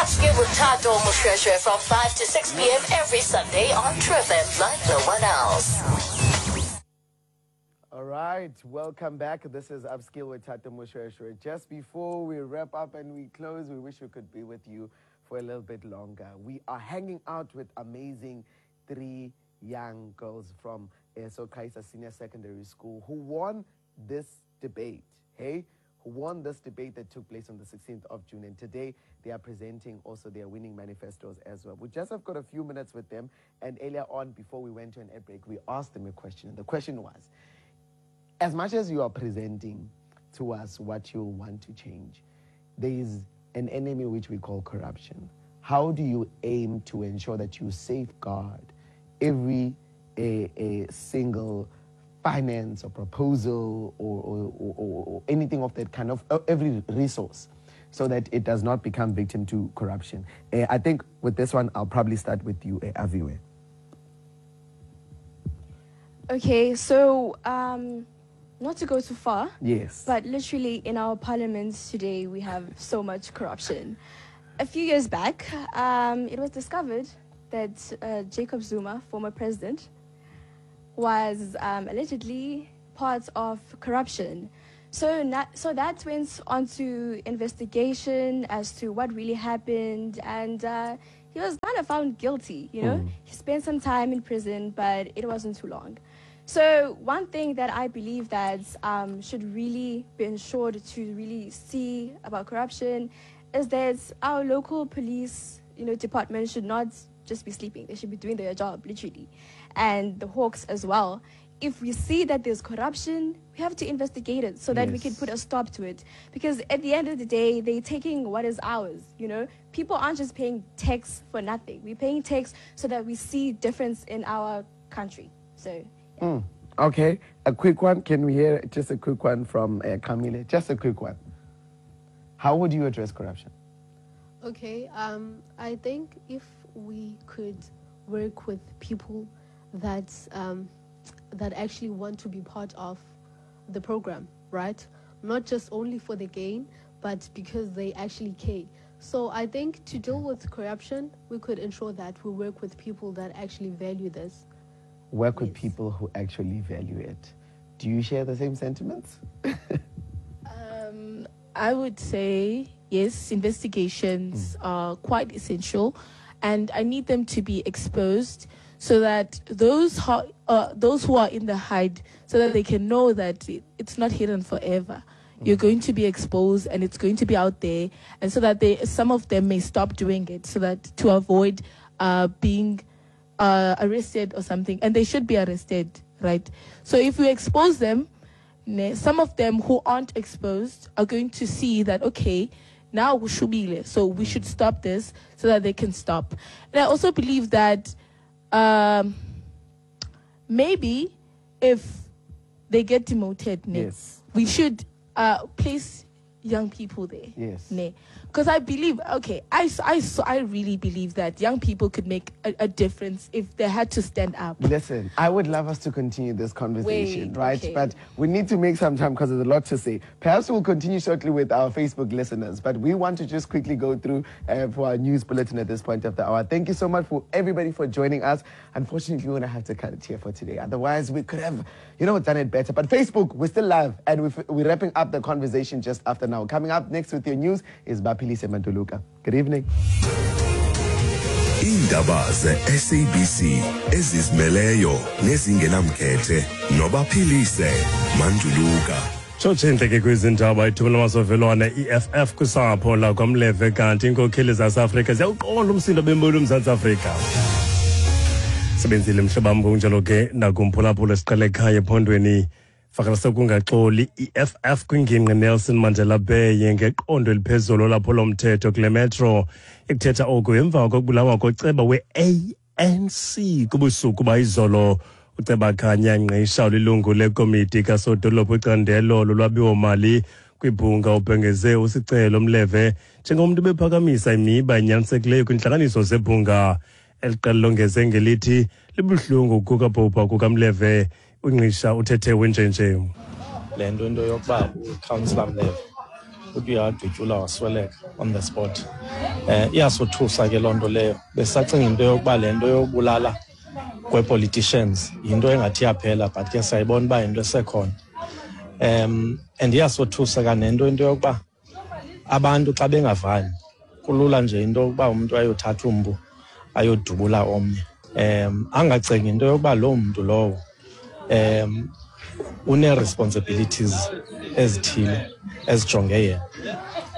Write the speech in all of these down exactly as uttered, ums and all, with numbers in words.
Upskill with Tato Moshoeshoe from five to six p m every Sunday on True F M like no one else. All right, welcome back. This is Upskill with Tato Moshoeshoe. Just before we wrap up and we close, we wish we could be with you for a little bit longer. We are hanging out with amazing three young girls from Soqhaisa Senior Secondary School who won this debate, hey? Who won this debate that took place on the sixteenth of June. And today they are presenting also their winning manifestos as well. We just have got a few minutes with them. And earlier on, before we went to an ad break, we asked them a question. And the question was, as much as you are presenting to us what you want to change, there is an enemy which we call corruption. How do you aim to ensure that you safeguard every a, a single finance or proposal or, or, or, or anything of that kind of uh, every resource so that it does not become victim to corruption? Uh, I think with this one, I'll probably start with you, uh, Aviwe. Okay, so um, not to go too far. Yes. But literally in our parliaments today, we have so much corruption. A few years back, um, it was discovered that uh, Jacob Zuma, former president, was um, allegedly part of corruption. So, not, so that went on to investigation as to what really happened, and uh, he was kind of found guilty, you know? Mm. He spent some time in prison, but it wasn't too long. So one thing that I believe that um, should really be ensured to really see about corruption is that our local police, you know, department should not just be sleeping. They should be doing their job, literally. And the Hawks as well. If we see that there's corruption, we have to investigate it so that we can Yes. put a stop to it. Because at the end of the day, they're taking what is ours, you know? People aren't just paying tax for nothing. We're paying tax so that we see difference in our country. So, yeah. Mm. Okay, a quick one. Can we hear just a quick one from uh, Camille? Just a quick one. How would you address corruption? Okay, um, I think if we could work with people that um, that actually want to be part of the program, right? Not just only for the gain, but because they actually care. So I think to deal with corruption, we could ensure that we work with people that actually value this. Work with Yes. people who actually value it. Do you share the same sentiments? Um, I would say yes, investigations are quite essential, and I need them to be exposed so that those ho- uh, those who are in the hide, so that they can know that it, it's not hidden forever. You're going to be exposed, and it's going to be out there, and so that they some of them may stop doing it, so that to avoid uh, being uh, arrested or something, and they should be arrested, right? So if we expose them, ne, some of them who aren't exposed are going to see that, okay, now kushubile, so we should stop this, so that they can stop. And I also believe that um, maybe if they get demoted, ne, Yes. we should uh, place young people there. Yes. Ne. Because I believe, okay, I, s- I, s- I really believe that young people could make a, a difference if they had to stand up. Listen, I would love us to continue this conversation, Wait, right? okay. But we need to make some time because there's a lot to say. Perhaps we'll continue shortly with our Facebook listeners, but we want to just quickly go through uh, for our news bulletin at this point of the hour. Thank you so much for everybody for joining us. Unfortunately, we're going to have to cut it here for today. Otherwise, we could have, you know, done it better. But Facebook, we're still live and we're, we're wrapping up the conversation just after now. Coming up next with your news is Bapilise Manduluka. Good evening. Iindaba ze-S A B C ezizimeleyo nezingenamkhethe noBaphilise Manduluka. Tshotshe intleke kwizindaba ithuba lamasovelwane E F F kwisapho lakwaMleve, kanti iinkokheli zaseAfrika ziyawuqonda umsindo bembulu uMzantsi Afrika. Sebenzile mhlobam, ngokunjalo ke nakumphulaphula siqale ekhaya ephondweni fakela sekungaxoli E F F kwingingqi Nelson Mandela Bay ngeqondo eliphezulu lolwaphulo-mthetho kule metro. Ikuthetha oku emva kokubulawa koceba we-A N C kubusuku bayizolo. Uceba Khanya Ngqisha ulilungu lekomiti kasodolophu icandelo lolwabiwo-mali kwibhunga ubhengeze uSicelo Mleve njengomntu bephakamisa imiba enyanisekileyo kwintlanganiso zebhunga. Eli qela longeze ngelithi libuhlungu kukabhubha kukaMleve. UNgqisha uthethe wenjenje. Le nto into yokuba ucouncillor Mleve Uthi uyadutyula wasweleka on the spot. Eh iyasothusa ke loo nto leyo. Besacinga into yokuba le nto yobulala kwe-politicians yinto engathi yaphela, but ke siyayibona uba yinto esekhona. Um and iyasothusa kanento into yokuba abantu xa bengavani kulula nje into yokuba umuntu ayothatha umpu ayodubula omnye. Um angacingi into yokuba loo mntu lowo um une-responsibilities ezithile ezijonge yena.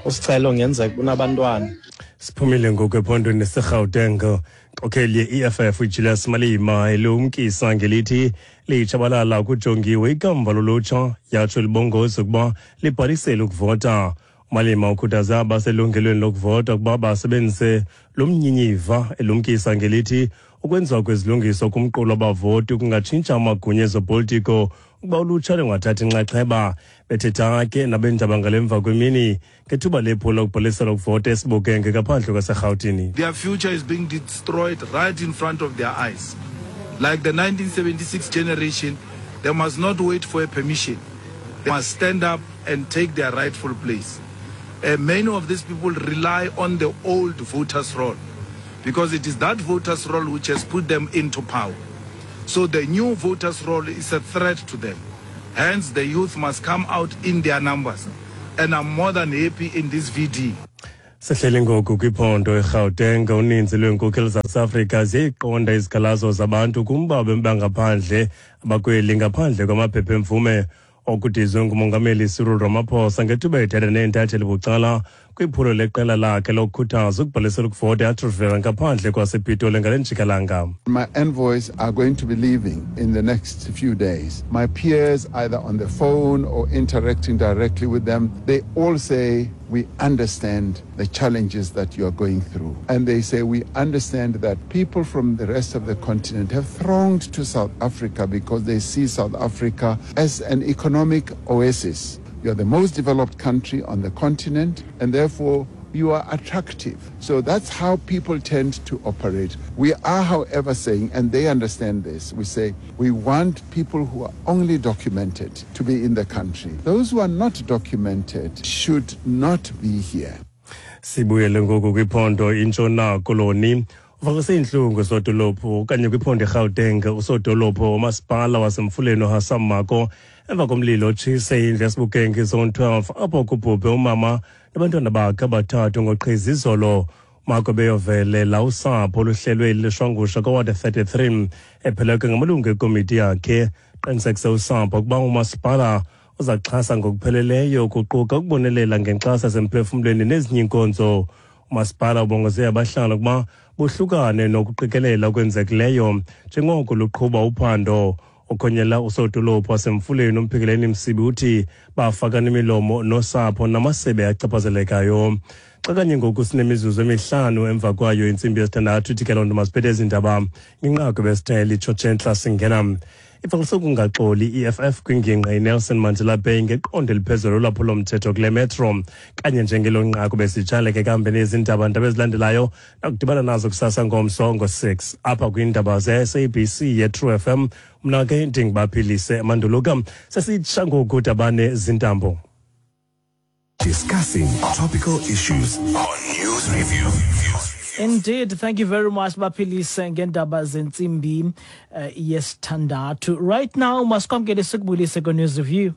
Usicelo ngenzeka unabantwana. Siphumile ngoku ephondweni seGauteng. Inkokheli ye-E F F uJulius Malema elumkisa ngelithi litshabalala kujongiwe ikamva lolutsha, yatsho libongoza ukuba libhalisele ukuvota. Malema ukhuthaza abaselungelweni lokuvota ukuba basebenzise lo mnyinyiva, elumkisa ngelithi ukwenziwa kwezilungiso kumqulu wabavoti kungatshintsha amagunya ezopolitiko ukuba ulutsha lungathathi inxaxheba. Bethetha ke nabeendaba ngalemva kwemini ngethuba lephulo lokubhalisela ukuvota eSibukenge ngaphandle kwaseRhawutini. Their future is being destroyed right in front of their eyes. Like the nineteen seventy-six generation, they must not wait for a permission. They must stand up and take their rightful place. Uh, many of these people rely on the old voters' roll, because it is that voters' roll which has put them into power. So the new voters' roll is a threat to them. Hence, the youth must come out in their numbers. And I'm more than happy in this V D. Sehleli ngoku kwiphondo eGauteng, uninzi lweenkokheli zaseAfrika ziyayiqonda izikhalazo zabantu kumba bangaphandle abakweli ngaphandle kwamaphepha emvume. Okudizwe ngumongameli Cyril Ramaphosa ngethuba ethetha neentatheli bucala kwiphulo leqela lakhe lokukhuthaza ukubhalisela ukuvota eAtteridgeville ngaphandle kwasePitoli ngale njikalanga. My envoys are going to be leaving in the next few days. My peers, either on the phone or interacting directly with them, they all say, we understand the challenges that you are going through. And they say, we understand that people from the rest of the continent have thronged to South Africa because they see South Africa as an economic oasis. You are the most developed country on the continent, and therefore you are attractive. So that's how people tend to operate. We are, however, saying, and they understand this, we say we want people who are only documented to be in the country. Those who are not documented should not be here. Sibuyele ngoku kwiphondo iNtshona Koloni. Uvakalise iintlungu sodolophu okanye kwiphondo iGauteng usodolophu womasipala waseMfuleni uHassam Mako emva komlilo otshise indlu yaseBukeng Zone twelve apho kubhubhe umama nabantwana bakhe abathathu ngoqhiza izolo. Mako beyovelela usapho oluhlelwe lishwangusha koward thirty-three epheleke ngamalungu ekomiti yakhe. Qinisekise usapho ukuba umasipala uzaxhasa ngokupheleleyo kuquka ukubonelela ngenkxaso yasemphefumlweni nezinye iinkonzo. Umasipala ubongoze abahlali ukuba bohlukane nokuqikelela okwenzekileyo njengoko luqhuba uphando. Okhonyela usodolophu waseMfuleni uMphikeleni Msibi uthi bafakana imilomo nosapho namasebe achaphazelekayo. Xa kanye ngoku sinemizuzu emihlanu emva kwayo intsimbi yesithandathu, ithi ke loo nto masiphethe ezi ndaba ngenqaku besithele itshotshe singena. Ivakalise ukungaxoli i-E F F kwingingqi iNelson Mandela Bay ngeqondo eliphezulu lolwaphulo-mthetho kule metro. Kanye njengelo nqaku besitshaleke ke nezi ndaba ndaba ezilandelayo nakudibana nazo kusasa ngomso ngo-six apha kwiindaba ze-S A B C ye-True F M. Mna ke ndinguBaphilise Manduluka. Sesitsha ngoku dabane zintambo. Discussing topical issues on News Review. Indeed, thank you very much, Baphilise, ngendaba zentsimbi uh, yesithandathu. Right now, masikwamkele sikubulise ku News Review.